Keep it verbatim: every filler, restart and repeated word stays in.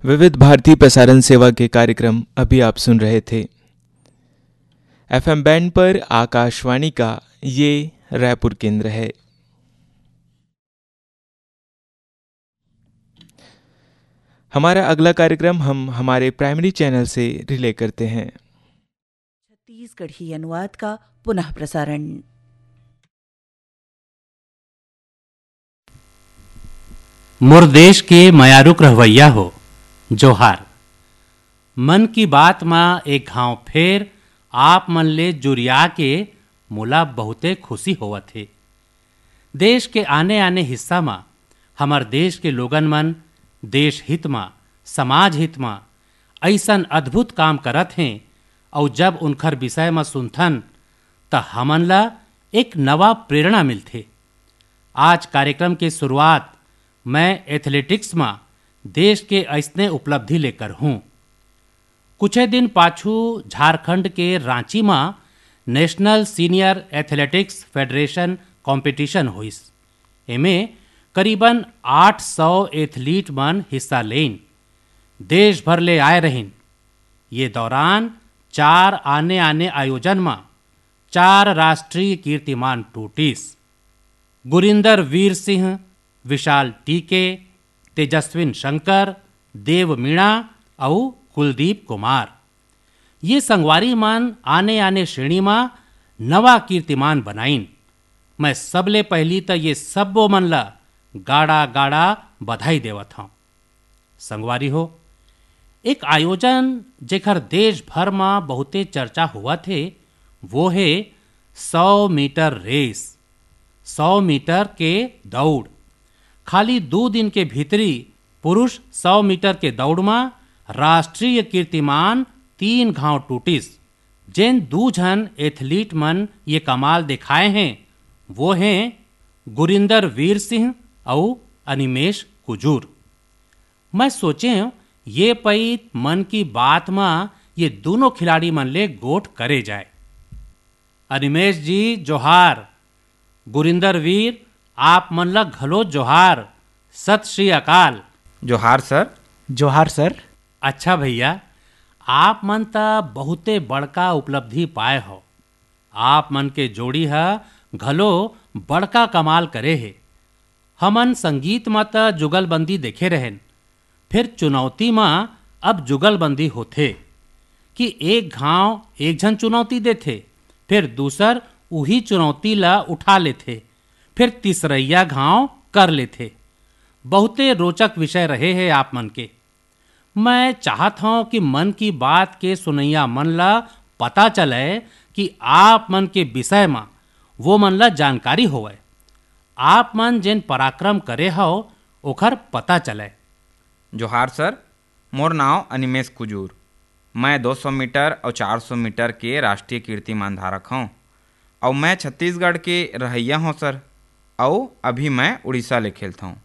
विविध भारती प्रसारण सेवा के कार्यक्रम अभी आप सुन रहे थे। एफएम बैंड पर आकाशवाणी का ये रायपुर केंद्र है। हमारा अगला कार्यक्रम हम हमारे प्राइमरी चैनल से रिले करते हैं। छत्तीसगढ़ी अनुवाद का पुनः प्रसारण। मोर देश के मयारुक रहवैया हो, जोहार। मन की बात म एक घांव फेर आप मन ले जुरिया के मोला बहुते खुशी होवत हे। देश के आने-आने हिस्सा म हमर देश के लोगन मन देश हित म, समाज हित म अइसन अद्भुत काम करत हें, अउ जब उनखर विषय म सुनथन, त हमन ला एक नवा प्रेरणा मिलथे। आज कार्यक्रम के शुरुआत मैं एथलेटिक्स म देश के अइसने उपलब्धि ले करहूं। कुछे दिन पाछू झारखंड के रांची म national senior athletics federation competition होइस। एमे करीबन आठ सौ एथलीट मन हिस्सा लेइन। देश भर ले आए रहिन। ये दौरान चार आने-आने आयोजन म चार राष्ट्रीय कीर्तिमान टूटिस। गुरिंदर वीर सिंह, विशाल टीके, तेजस्विन शंकर, देव मीणा अउ कुलदीप कुमार। ये संगवारी मन आने-आने श्रेणी म नवा कीर्तिमान बनाइन। मैं सबले पहिली त ये सब्बो मन ल गाड़ा-गाड़ा बधाई देवत हंव। संगवारी हो, एक आयोजन जेकर देश भर म बहुते चर्चा होवत हे, वो हे सौ मीटर रेस, सौ मीटर के दौड़। खाली दू दिन के भीतरी पुरुष सौ मीटर के दौड़ म राष्ट्रीय कीर्तिमान तीन घांव टूटिस। जेन दू झन एथलीट मन ये कमाल देखाए हें, वो हें गुरिंदर वीर सिंह अउ अनिमेश कुजूर। मैं सोचेंव, ये पइत मन की बात म ये दूनों खिलाड़ी मन ले गोठ करे जाए। अनिमेश जी, जोहार। गुरिंदर वीर, आप मन ल घलो जोहार। सत श्री अकाल। जोहार सर। जोहार सर। अच्छा भैया, आप मन त बहुते बड़का उपलब्धि पाए हो। आप मन के जोड़ी ह घलो बड़का कमाल करे हे। हमन संगीत म त जुगलबंदी देखे रहेन, फेर चुनौती म अब जुगलबंदी होथे कि एक घांव एक झन चुनौती देथे, फेर दूसर उही चुनौती ल उठा लेथे, फेर तीसरइया घांव कर लेथे। बहुते रोचक विषय रहे हे आप मन के। मैं चाहत हंव कि मन की बात के सुनइया मन ल पता चलय कि आप मन के विषय म वो मन ल जानकारी होवय। आप मन जेन पराक्रम करे हव, ओखर पता चलय। जोहार सर, मोर नांव अनिमेश कुजूर। मैं दो सौ मीटर अउ चार सौ मीटर के राष्ट्रीय कीर्तिमान धारक हंव, अउ मैं छत्तीसगढ़ के रहइया हंव सर, अउ अभी मैं उड़ीसा ले खेलथंव।